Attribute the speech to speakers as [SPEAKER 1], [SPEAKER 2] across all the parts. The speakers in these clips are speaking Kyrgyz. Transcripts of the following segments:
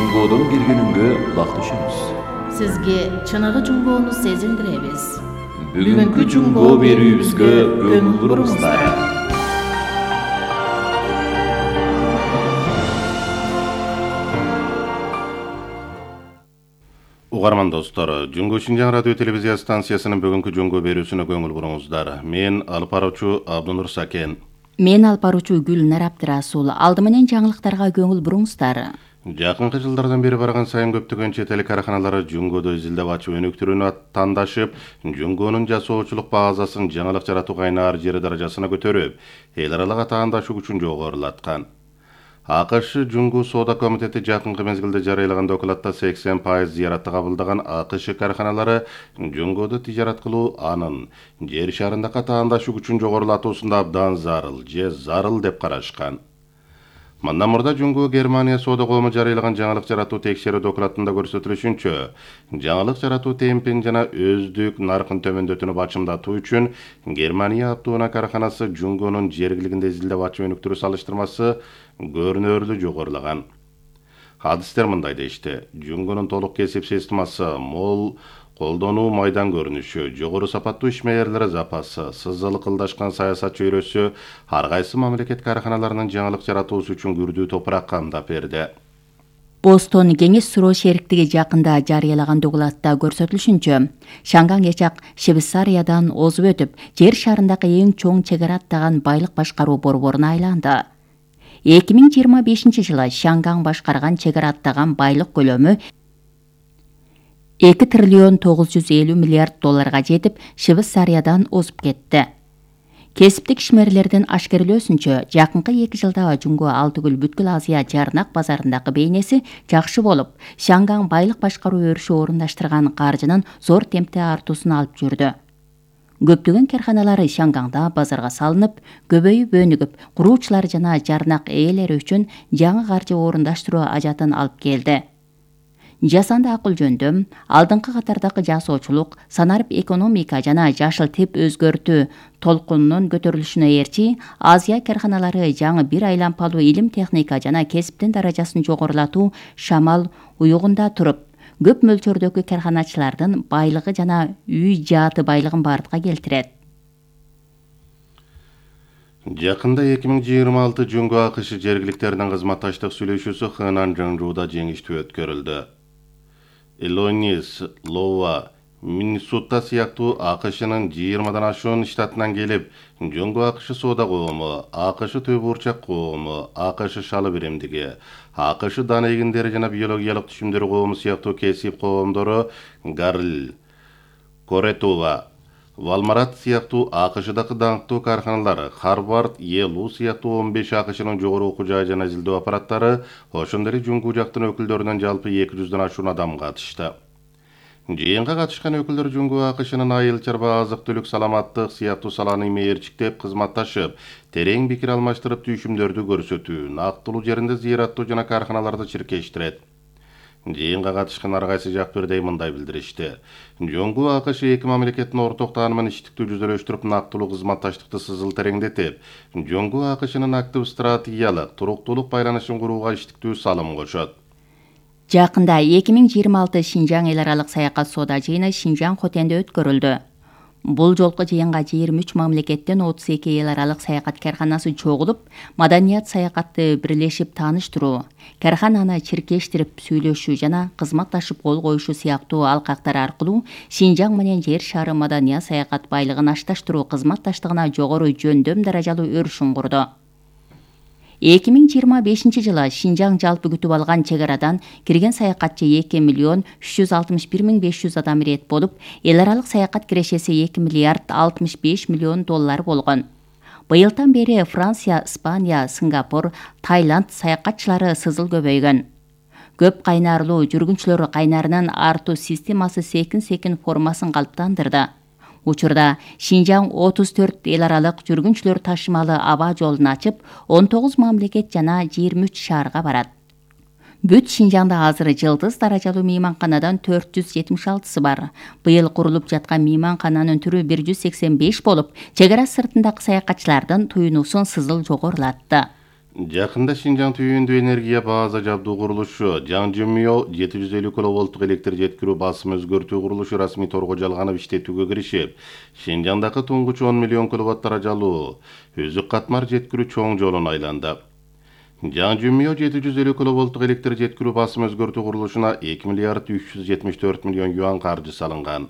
[SPEAKER 1] Жунгодон келгенүнгө кулак түшүңүз.
[SPEAKER 2] Сизге чыныгы жунгоону сезилдиребиз.
[SPEAKER 1] Бүгүнкү жунгоо берүүбүзгө көңүл буруңуздар.
[SPEAKER 3] Угарман достор, Жунгу Шинжаң радио телевизия станциясынын бүгүнкү жунгу берүүсүнө көңүл буруңуздар. Мен алып баруучу Абдунур Сакен.
[SPEAKER 2] Мен алып баруучу Гүлнар Абдрасул. Алды менен жаңылыктарга көңүл буруңуздар.
[SPEAKER 3] Жакынкы жылдардан бери барган сайын көптөгөн чет эл караханалары жунгоду изилдеп ачып өнүктүрүүнү тандашып, жунгонун жасоочулук базасын жаңылык жаратуу кайнаар жери даражасына көтөрүп, эл аралык атаандашу күчүн жогорулаткан. АКШ Жунгу соода комитети жакынкы мезгилде жарыялаган докладта 80% зыяратты кабылдаган АКШ караханалары жунгоду тижарат кылуу анын жер шарындагы атаандашу күчүн жогорулатуусунда абдан зарыл деп карашкан. Мындан мурда Жунгу Германия соода коому жарыялаган жаңылык жаратуу текшерүү докладында көрсөтүлүшүнчө, жаңылык жаратуу темпин жана өздүк наркын төмөндөтүүнү бачымдатуу үчүн Германия Аптуна караханасы жунгонун жергилигинде изилдеп ачып өнүктүрүү салыштырмасы көрүнөрлүү жогорулаган. Адистер мындай дешти: жунгонун толук кесип системасы, мол колдонуу майдан көрүнүшү, жогору сапаттуу ишмерлери запасы, сызылкылдашкан саясат чөйрөсү ар кайсы мамлекет караханаларынын жаңылык жаратуусу үчүн күрдүү топурак камдап берди.
[SPEAKER 2] Бостон кеңеш суроо шериктиги жакында жарыялаган докладта көрсөтүлүшүнчө, Шанган Ячак Швейцариядан озуп өтүп, жер шарындагы эң чоң чек ара аттаган байлык башкаруу борборуна айланды. 2025 жылы Шанган башкарган чек ара аттаган байлык көлөмү 2 триллион 950 миллиард долларга жетип, Швейцариядан озуп кетти. Кесиптик ишмерлердин ашкерлөөсүнчө, жакынкы 2 жылда Жунгу Алтыгүл бүткүл Азия жарнак базарындагы бейнеси жакшы болуп, Шанган байлык башкаруу өрүшү орундаштырган каржынын зор темпте артуусун алып жүрдү. Көптөгөн карханалары Шанганда базарга салынып, көбөйүп өнүгүп, куруучулар жана жарнак ээлери үчүн жаңы каржы орундаштыруу ажатын алып келди. Жасанды акыл жөндөм, алдыңкы катардагы жасоочулук, санарип экономика жана жашыл тип өзгөртүү толкунунун көтөрүлүшүнө ээрчи, Азия карханалары жаңы бир айлампалуу илим техника жана кесиптин даражасын жогорулатуу шамал уюгунда туруп, көп мөлчөрдөгү карханачылардын байлыгы жана үй жааты байлыгын бардыкка келтирет.
[SPEAKER 3] Жакында 2026 Жунгу АКШ жергиликтеринин кызматташтык сүйлөшүүсү Хэнан Жаңжууда жеңиштүү өткөрүлдү. Иллинойс, Лоуа, Миннесота сыяктуу АКШнын 20дан ашуун штатынан келип, Жунгу АКШ соода коому, АКШ Төбү Бурчак коому, АКШ шалы биримдиги, АКШ дан эгиндери жана биологиялык түшүмдөр коому сыяктуу кесип коомдору Гарл, Коретова, Валмарат сыяктуу АКШдагы даңктуу карханалар, Харвард, ЕЛУ сыяктуу 15 АКШнын жогору окуу жайы жана изилдөө аппараттары, ошондой эле Жунгу жактын өкүлдөрүнөн жалпы 200дан ашуун адам катышты. Жыйынга катышкан өкүлдөр Жунгу АКШнын айыл чарба, азык-түлүк, саламаттык сыяктуу саланы мээрчиктеп кызматташып, терең пикир алмаштырып түйшүмдөрдү көрсөтүү, нактылуу жеринде зыяраттоо жана карханаларды чиркештирет. Жыйынга катышкан ар кайсы жак бирдей мындай билдиришти: Жунгу АКШ эки мамлекеттин орток таанымын иштиктүү жүзөлөштүрүп, нактылуу кызматташтыкты сызыл тереңдетип, Жунгу АКШнын актив стратегиялык, туруктуулук байланышын курууга иштиктүү салым кошот.
[SPEAKER 2] Жакында 2026 Шинжаң эл аралык саякат соода жыйыны Шинжаң Хотенде өткөрүлдү. Бул жолку жыйынга 23 мамлекеттен 32 эл аралык саякат карханасы чогулуп, маданият саякатты бирлешип тааныштыруу, кархананы чиркештирип сүйлөшүү жана кызматташып кол коюшу сыяктуу алкактар аркылуу Шинжаң менен жер шары маданият саякат байлыгын ашташтыруу кызматташтыгына жогору жөндөм даражалуу өрүшүн курду. 2025 жылы Шинжаң жалпы күтүп алган чек арадан кирген саякатчы 2 миллион 361 500 адам ирет болуп, эл аралык саякат кирешеси 2 миллиард 65 миллион доллар болгон. Быйылдан бери Франция, Испания, Сингапур, Таиланд саякатчылары сызыл көбөйгөн. Көп кайнарлуу жүргүнчүлөр кайнарынын артуу системасы секин формасын калыптандырды. Учурда Шинжаң 34 эл аралык жүргүнчүлөр ташымалы аба жолун ачып, 19 мамлекет жана 23 шаарга барат. Бүт Шинжаңда азыр жылдыз даражалуу мейманканадан 476 бар. Быйыл курулуп жаткан мейманкананын түрү 185 болуп, чек ара сыртындагы саякатчылардын туюнуусун сызыл жогорулатты.
[SPEAKER 3] Жакында Шинжаң түйүндүү энергия база жабдуу курулушу Жаңжымё 750 киловолттук электр жеткирүү басым өзгөртүү курулушу расмий торго жалганып иштетүүгө киришип, Шинжаңдагы туңгуч 10 миллион киловатт даражалуу үзүк катмар жеткирүү чоң жолун айланды. Жаңжымё 750 киловолттук электр жеткирүү басым өзгөртүү курулушуна 2 миллиард 374 миллион юан каржы салынган.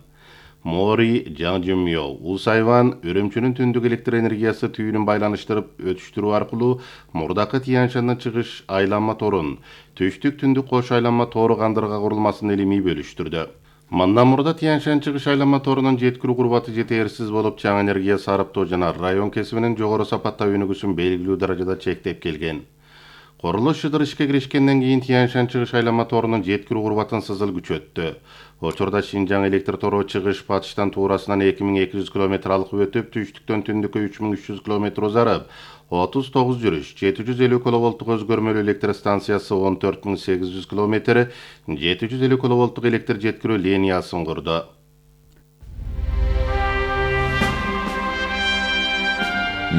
[SPEAKER 3] Мори, Жаңжымё, Усайван, Үрүмчүнүн түндүк электр энергиясы түйүнүн байланыштырып өтүштүрүү аркылуу мурдакы Тянь-Шандан чыгыш айланма торун түштүк түндүк кош айланма тору кандырга курулмасын илимий бөлүштүрдү. Мындан мурда Тянь-Шан чыгыш айланма торунун жеткирүү курбаты жетээрсиз болуп, чаң энергия сарыптоо жана район кесибинин жогору сапаттаа өнүгүүсүн белгилүү даражада чектеп келген. Курулуш шыдыр ишке киришкенден кийин Тянь-Шан чыгыш айланма торунун жеткирүү курбатын сызыл күчөттү. Учурда Шинжаң электр тору чыгыш батыштан туурасынан 2200 км алып өтүп, түштүктөн түндүккө 3300 км узарып, 39 жүрүш 750 киловолттук өзгөрмөлүү электр станциясы 14800 км, 750 киловолттук электр жеткирүү линиясын курду.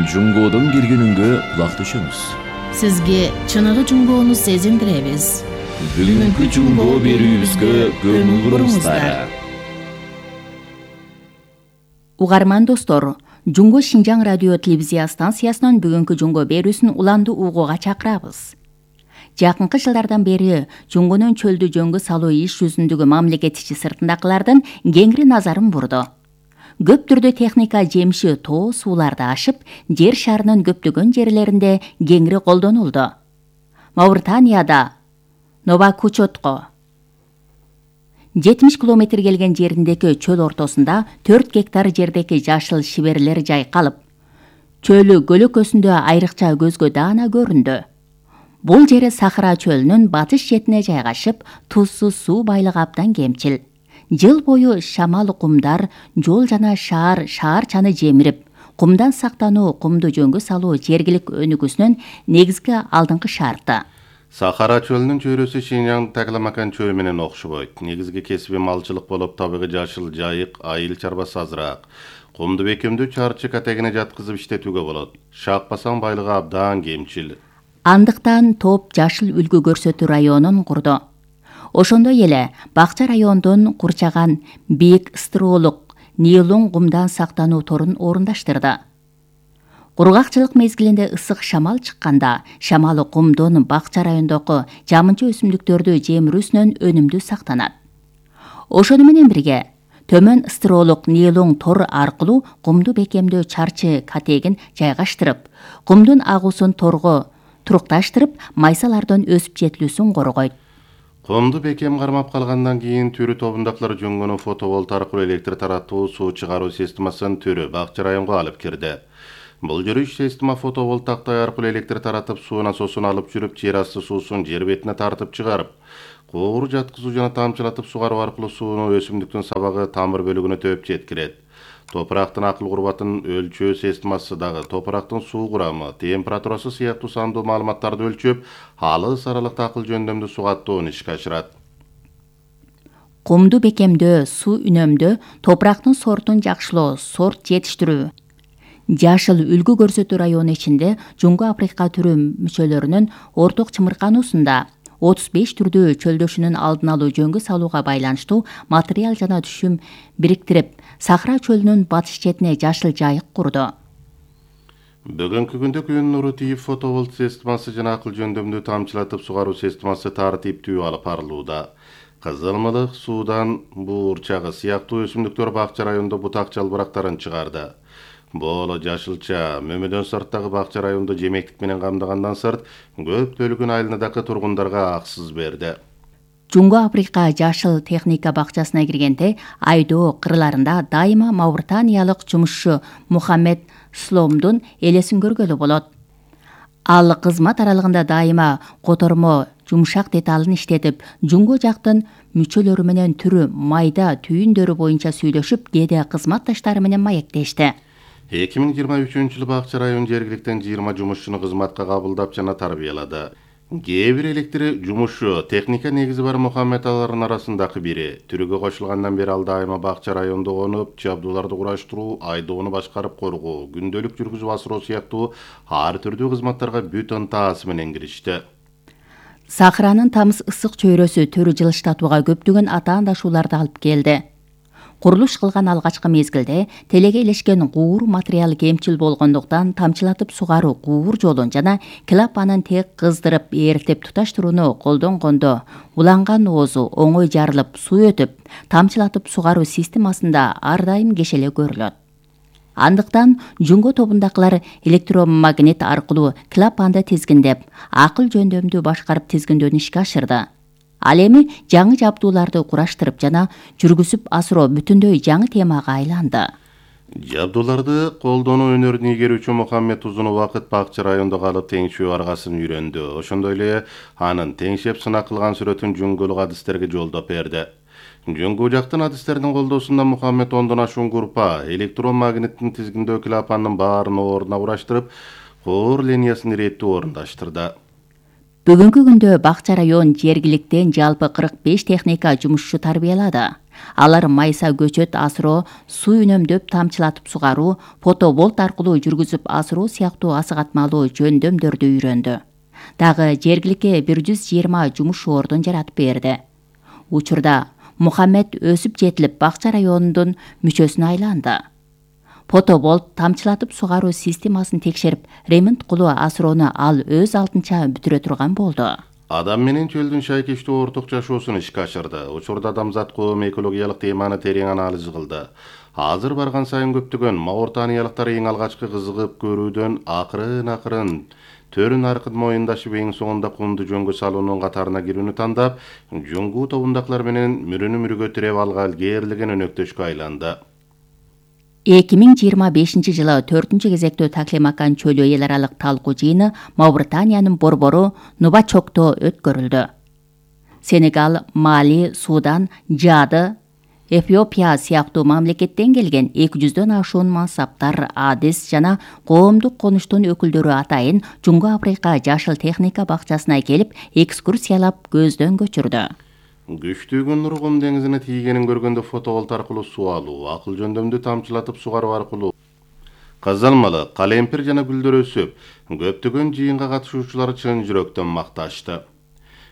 [SPEAKER 1] Жунгодон келгенүнгө кулак түшөмүз.
[SPEAKER 4] Сизге чыныгы жунгоону сезиндиребиз.
[SPEAKER 1] Бүгүнкү жунгоо берүүбүзгө көңүл буруңуздар.
[SPEAKER 2] Угарман достор, Жунго Шинжаң радио телевизия станциясынын бүгүнкү жунгоо берүүсүн уланды угууга чакырабыз. Жакынкы жылдардан бери жунгонун чөлдү жөнгө салуу иш жүзүндөгү мамлекет ичи сыртындакылардын кеңири назарын бурду. Көп түрдө техника жемиши тоо сууларды ашып, жер шарынын көптөгөн жерлеринде кеңири колдонулду. Мавританияда Новакучотко 70 километр келген жериндеки чөл ортосунда 4 гектар жердеки жашыл шиберлер жайкалып, чөлү көлөкөсүндө айрыкча көзгө даана көрүндү. Бул жери Сахара чөлүнүн батыш четине жайгашып, тузсуз суу байлыгы абдан кемчил. Жыл бою шамал кумдар жол жана шаарчаны жемирип, кумдан сактануу, кумду жөнгө салуу жергилик өнүгүүсүнүн негизги алдыңкы шарты.
[SPEAKER 3] Сахара чөлүнүн чөйрөсү Шинжаң Такламакан чөлү менен окшобойт. Негизги кесиби малчылык болуп, табигый жашыл жайык, айыл чарбасы азыраак. Кумду бекемдүү чарчы категине жаткызып иштетүүгө болот. Шакпасаң байлыгы абдан кемчил.
[SPEAKER 2] Андыктан топ жашыл үлгү көрсөтүү районун курду. Ошондой эле Бакча районунун курчаган бийик стролук нейлон кумдан сактануу торун орундаштырды. Кургакчылык мезгилинде ысык шамал чыкканда, шамалы кумдун Бакча райондогу жамынча өсүмдүктөрдү жемирүүсүнөн өнүмдүү сактанат. Ошону менен бирге төмөн стролук нейлон тор аркылуу кумду бекемдөө чарчы категин жайгаштырып, кумдун агуусун торго турукташтырып, майсалардын өсүп жетилүүсүн коргойт.
[SPEAKER 3] Кумду бекем кармап калгандан кийин түрү тобундакылар жөнгөнү фотоволт аркылуу электр тараттуу суу чыгаруу системасын түрү Бакча районго алып кирди. Бул жүрүш система фотоволт тактай аркылуу электр таратып, суу насосун алып жүрүп, жер асты суусун жер бетине тартып чыгарып, куур жаткызуу жана тамчылатып сугаруу аркылуу сууну өсүмдүктүн сабагы тамыр бөлүгүнө төп жеткирет. Топурактын акыл курбатын өлчөө системасы дагы топурактын суу курамы, температурасы сыяктуу сандуу маалыматтарды өлчөп, алыс аралыкта акыл жөндөмдүү сугаттоону ишке ашырат.
[SPEAKER 2] Кумду бекемдөө, суу үнөмдөө, топурактын сортун жакшылоо, сорт жетиштирүү. Жашыл үлгү көрсөтүү району ичинде Жунгу Африка түрү мүчөлөрүнүн орток чымыркануусунда 35 түрдүү чөлдөшүүнүн алдын алуу жөнгө салууга байланыштуу материал жана түшүм бириктирип, Сахара чөлүнүн батыш четине жашыл жайык курду.
[SPEAKER 3] Бүгүнкү күндө күн нуру тийип фотоволт системасы жана акыл жөндөмдүү тамчылатып сугаруу системасы тартиптүү алып барылууда. Кызылмылык суудан буурчагы сыяктуу өсүмдүктөр Бакча районунда бутак жалбырактарын чыгарды. Бооло жашылча мөмөдөн сырттагы Бакча районунда жемектик менен камдагандан сырт көптөлгөн айылындагы тургундарга аксыз берди.
[SPEAKER 2] Жунгу Африка жашыл техника бакчасына киргенде айдоо кырларында дайыма мавританиялык жумушчу Мухаммед Сломдун элесин көргөлү болот. Ал кызмат аралыгында дайыма котормо жумшак деталын иштетип, жунгу жактын мүчөлөрү менен түрү майда түйүндөрү боюнча сүйлөшүп, кээде кызматташтары менен маектешти.
[SPEAKER 3] 2023-жылы Бакча район жергиликтен 20 жумушчуну кызматка кабылдап жана тарбиялады. Кээ бир электр жумушчу техника негизи бар Мухаммед алардын арасындагы бири. Түрүгө кошулгандан бери ал дайыма бакча районунда конуп, жабдууларды кураштыруу, айдоону башкарып коргоо, күндөлүк жүргүзүп асыроо сыяктуу ар түрдүү кызматтарга бүт ынтаасы менен киришти.
[SPEAKER 2] Сахранын тамыз ысык чөйрөсү төрү жылыштатууга көптөгөн атаандашууларды алып келди. Курулуш кылган алгачкы мезгилде телеге илешкен куур материал кемчил болгондуктан тамчылатып сугаруу куур жолун жана клапанын тек кыздырып ээртип туташтырууну колдонгондо уланган оозу оңой жарылып суу өтүп, тамчылатып сугаруу системасында ар дайым кешеле көрүлөт. Андыктан жуңго тобундагылар электромагнит аркылуу клапанды тизгиндеп, акыл жөндөмдү башкарып тизгиндөөнү ишке ашырды. Ал эми жаңы жабдууларды кураштырып жана жүргүзүп асыроо бүтүндөй жаңы темага айланды.
[SPEAKER 3] Жабдууларды колдонуу өнөрүн ийгерүүчү Мухаммед узун убакыт бакча районунда калып теңшөө аргасын үйрөндү. Ошондой эле анын теңшеп сынак кылган сүрөтүн жуңголук адистерге жолдоп берди. Жуңгу жактын адистеринин колдоосунда Мухаммед 10дон ашуун группа электромагниттин тизгиндөө клапанынын баарын ордуна кураштырып, коор линиясын иреттүү орундаштырды.
[SPEAKER 2] Бүгүнкү күндө бакча район жергиликтен жалпы 45 техника жумушчу тарбиялады. Алар майса көчөт асыроо, суу үнөмдөп тамчылатып сугаруу, фотоболт аркылуу жүргүзүп асыроо сыяктуу асыгатмалуу жөндөмдөрдү үйрөндү. Дагы жергиликке 120 жумуш ордун жаратып берди. Учурда Мухаммед өсүп жетилип бакча районунун мүчөсүнө айланды. Фотоболт тамчылатып сугаруу системасын текшерип, ремонт кылуу асыроону ал өз алдынча бүтүрө турган болду.
[SPEAKER 3] Адам менен чөлдүн шайкештүү орток жашоосун ишке ашырды. Учурда адамзат коом экологиялык теманы терең анализ кылды. Азыр барган сайын көптөгөн Мауritaniялыктар эң алгачкы кызыгып көрүүдөн акырын төрүн аркын моюндашып эң соңунда кумду жөнгө салуунун катарына кирүүнү тандап, жуңгу тобундакылар менен мөрөнү мөргө тиреп алган кээрлеген өнөктөшкө айланды.
[SPEAKER 2] 2025 жылы 4 кезектөө Таклимакан чөлү эл аралык талкуу жыйыны Мауritaniянын борбору Нубачокто өткөрүлдү. Сенегал, Мали, Судан, Жады, Эфиопия сыяктуу мамлекеттен келген 200дөн ашуун мансаптар, адис жана коомдук конуштун өкүлдөрү атайын Жуңго Африка жашыл техника бакчасына келип, экскурсиялап көздөн көчүрдү.
[SPEAKER 3] Күчтүү нур Кум деңизине тийгенин көргөндө фотоболт аркылуу суу алуу, акыл жөндөмдү тамчылатып сугаруу аркылуу казалмалы, калемпир жана гүлдөр өсүп, көптөгөн жыйынга катышуучулар чын жүрөктөн макташты.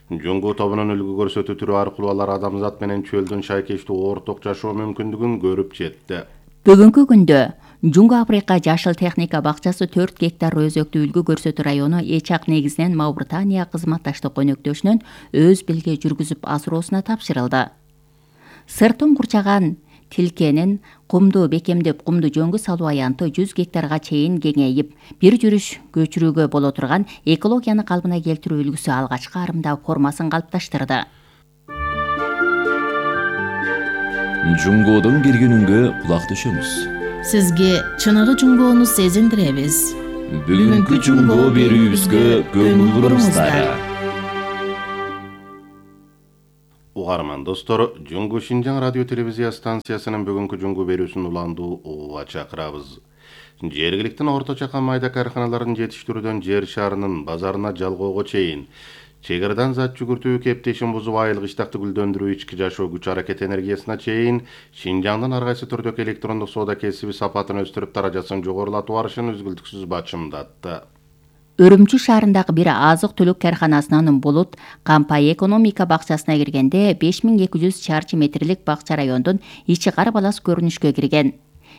[SPEAKER 3] Жуңгу тобунун үлгү көрсөтүү түрү аркылуу алар адамзат менен чөлдүн шайкештүү орток жашоо мүмкүндүгүн көрүп жетти.
[SPEAKER 2] Бүгүнкү күндө Жуңго Африка жашыл техника бакчасы 4 гектар өзөктүү үлгү көрсөтүү району Эчак негизинен Мауritania кызматташтык өнөктөшүнөн өз белге жүргүзүп асыроосуна тапшырылды. Сыртын курчаган тилкенин кумду бекемдеп кумду жөнгө салуу аянты 100 гектарга чейин кеңейип, бир жүрүш көчүрүүгө боло турган экологияны калыбына келтирүү үлгүсү алгачкы арымда формасын калыпташтырды.
[SPEAKER 1] Жуңгодон киргенүнгө кулак төшөмүз.
[SPEAKER 4] Сизге чыныгы жуңгоону сезиндиребиз.
[SPEAKER 1] Бүгүнкү жуңго берүүбүзгө көңүл буруңуздар.
[SPEAKER 3] Угарман достор, Жуңгу Шинжаң радио телевизия станциясынын бүгүнкү жуңгу берүүсүн уландуу угууга чакырабыз. Жергиликтин орто чакан майда карханаларын жетиштирүүдөн жер шарынын базарына жалгоого чейин чегердан зат жүгүртүү, кептешин бузуп айыл кыштакты гүлдөндүрүү, ички жашоо, күч аракет энергиясына чейин Шинжаңдын ар кайсы түрдөгү электрондук соода кесиби сапатын өстүрүп, даражасын жогорулатуу арышын үзгүлтүксүз бачымдатты.
[SPEAKER 2] Өрүмчү шаарындагы бир азык-түлүк карханасынын Булут Кампай экономика бакчасына киргенде 5200 чарчы метрлик бакча райондун ичи кар балас көрүнүшкө кирген.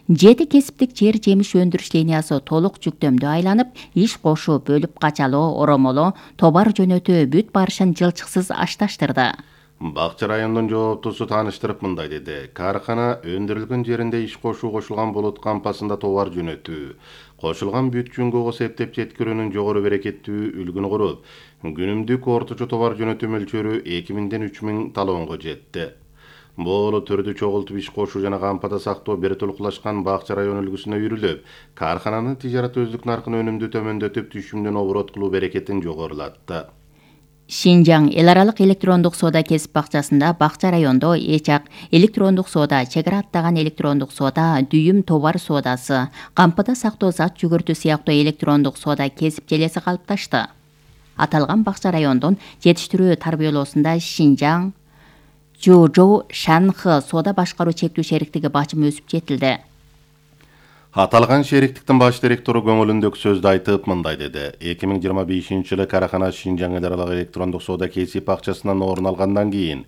[SPEAKER 2] 7 кесиптик жер жемиш өндүрүш линиясы толук жүктөмдө айланып, иш кошуу, бөлүп качалоо, оромолоо, товар жөнөтүү бүт барышын жылчыксыз ашташтырды.
[SPEAKER 3] Бакча районунун жооптусу тааныштырып мындай деди: кархана өндүрүлгөн жеринде иш кошуу кошулган Булут кампасында товар жөнөтүү, кошулган бүт жуңгого септеп жеткирүүнүн жогору берекеттүү үлгүнү куруп, күнүмдүк орточо товар жөнөтүү мөлчөрү 2000ден 3000 талонго жетти. Бул түрдү чогултуп иш кошуу жана кампада сактоо бир толуклашкан бакча район үлгүсүнө үйрүлүп, кархананын тижарат өздүк наркын өнүмдү төмөндөтүп, түшүмдүн оборот кылуу берекетин жогорулатты.
[SPEAKER 2] Шинжаң эл аралык электрондук соода кесип бакчасында бакча райондо Эчак электрондук соода, чегара аттаган электрондук соода, дүйүм товар соодасы, кампада сактоо зат жүгүртүү сыяктуу электрондук соода кесип желеси калыпташты. Аталган бакча райондун жетиштирүү тарбиялоосунда Шинжаң Жужоу Шанхы соода башкаруу чектүү шериктиги бачымы өсүп жетилди.
[SPEAKER 3] Аталган шериктиктин баш директору көңүлүндөгү сөздү айтып мындай деди. 2025-жылы карахана Шинжаң эл аралык электрондук соода кесип бакчасынан орун алгандан кийин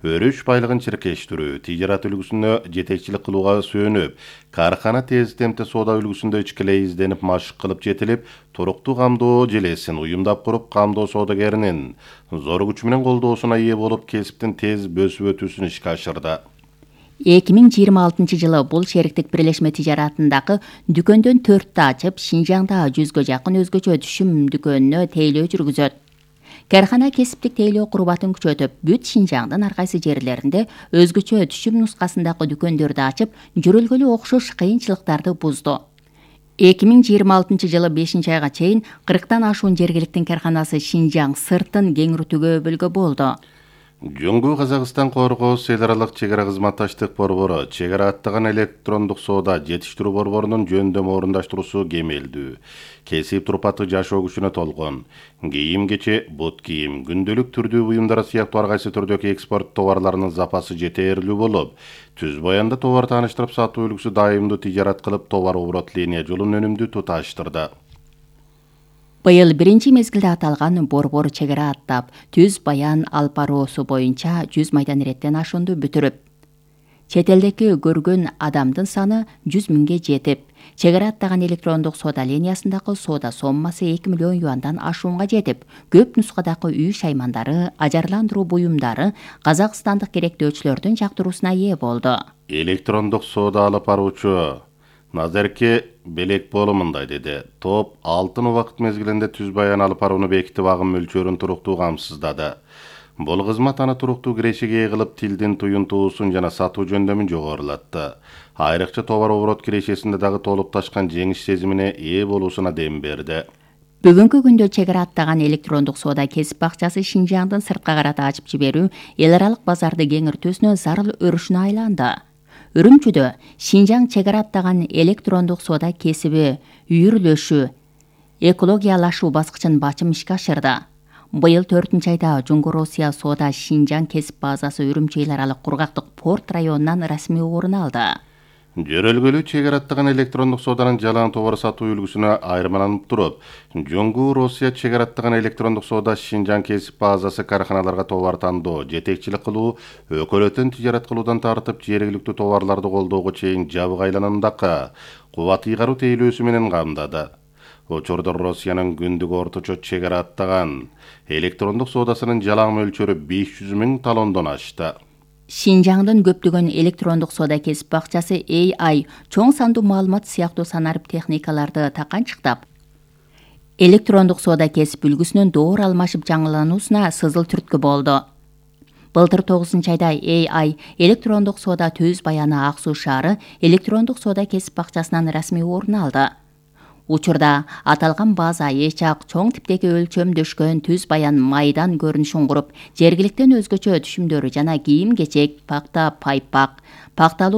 [SPEAKER 3] өрүш байлыгын чиркештирүү, тижарат үлгүсүнө жетекчилик кылууга сүйөнүп, карахана тез темпте соода үлгүсүндө ичкилей изденип машык кылып жетилип, туруктуу камдоо желесин уюмдап куруп, камдоо соодагеринин зор күчү менен колдоосуна ээ болуп, кесиптин тез өсүп өтүүсүн ишке ашырды.
[SPEAKER 2] 2026-жылы бул шериктик бирлешме тижаратындагы дүкөндөн 4 ачып, Шинжаңда 100гө жакын өзгөчө түшүм дүкөнүнө тейлөө жүргүзөт. Карахана кесиптик тейлөө курбатын күчөтүп, бүт Шинжаңдын ар кайсы жерлеринде өзгөчө түшүм нускасындагы дүкөндөрдү ачып, жүрөлгөлү окшош кыйынчылыктарды бузду. 2026-жылы 5-айга чейин 40тан ашуун жергиликтин караханасы Шинжаң сыртын кеңиртүүгө өбөлгө болду.
[SPEAKER 3] Жөнгүү Казакстан Коргоос эл аралык чек ара кызматташтык борбору чек ара аттаган электрондук соода жетиштирүү борборунун жөндөм орундаштыруусу кемелдүү. Кесип турпаты жашоо күчүнө толгон. Кийим-кече, бут кийим, күндөлүк түрдүү буюмдар сыяктуу ар кайсы түрдөгү экспорт товарларынын запасы жетээрлүү болуп, түз баянда товар тааныштырып сатуу үлгүсү дайымдуу тижарат кылып, товар оборот линия жолун өнүмдүү туташтырды.
[SPEAKER 2] Быйыл биринчи мезгилде аталган борбор чек ара аттап, түз баян алпароосу боюнча 100 майдан иреттен ашуунду бүтүрүп, чет элдеги көргөн адамдын саны 100 миңге жетип, чек ара аттаган электрондук соода линиясындагы соода соммасы 2 миллион юандан ашуунга жетип, көп нускадагы үй шаймандары, ажарландыруу буюмдары казакстандык керектөөчүлөрдүн жактыруусуна ээ болду.
[SPEAKER 3] Электрондук соода алып баруучу Назерке Белекболу мындай деди. Топ алтын убакыт мезгилинде түз баян алып барууну бекитип, агым мөлчөрүн туруктуу камсыздады. Бул кызмат аны туруктуу кирешиге ээ кылып, тилдин туюнтуусун жана сатуу жөндөмүн жогорулатты. Айрыкча товар оборот кирешесинде дагы толуп ташкан жеңиш сезимине ээ болуусуна дем берди.
[SPEAKER 2] Бүгүнкү күндө чек ара аттаган электрондук соода кесип бакчасы Шинжаңдын сыртка карата ачып жиберүү эл аралык базарды кеңиртүүсүнө зарыл өрүшүнө айланды. Үрүмчүдө Шинжаң чек ара аттаган электрондук соода кесиби үйүрлөшүү, экологиялашуу баскычын бачым ишке ашырды. Быйыл 4-айда Жунгу-Россия соода Шинжаң кесип базасы Үрүмчү эл аралык кургактык порт районунан расмий орун алды.
[SPEAKER 3] Жөрөлгөлүү чек ара аттаган электрондук сооданын жалаң товар сатуу үлгүсүнө айырмаланып туруп, Жунгу-Россия чек ара аттаган электрондук соода Шинжаң кесип базасы караханаларга товар тандоо, жетекчилик кылуу, өкөлөтөн тижарат кылуудан тартып, жергиликтүү товарларды колдоого чейин жабык айланымдакы кубат ыйгаруу тейлөөсү менен камдады. Учурда Россиянын күндүк орточо чек ара аттаган электрондук соодасынын жалаң мөлчөрү 500 миң талондон ашты.
[SPEAKER 2] Шинжаңдын көптөгөн электрондук соода кесип бакчасы AI чоң сандуу маалымат сыяктуу санарып техникаларды таканчыктап, электрондук соода кесип үлгүсүнөн доор алмашып жаңылануусуна сызыл түрткү болду. Былтыр 9-айда AI электрондук соода Түз Баяны Ак Суу шаары электрондук соода кесип бакчасынан расмий орун алды. Учурда аталган база эч ак чоң типтеги өлчөмдөшкөн Түз Баян майдан көрүнүшүн куруп, жергиликтен өзгөчө түшүмдөрү жана кийим-кечек, пакта, пайпак, пакталуу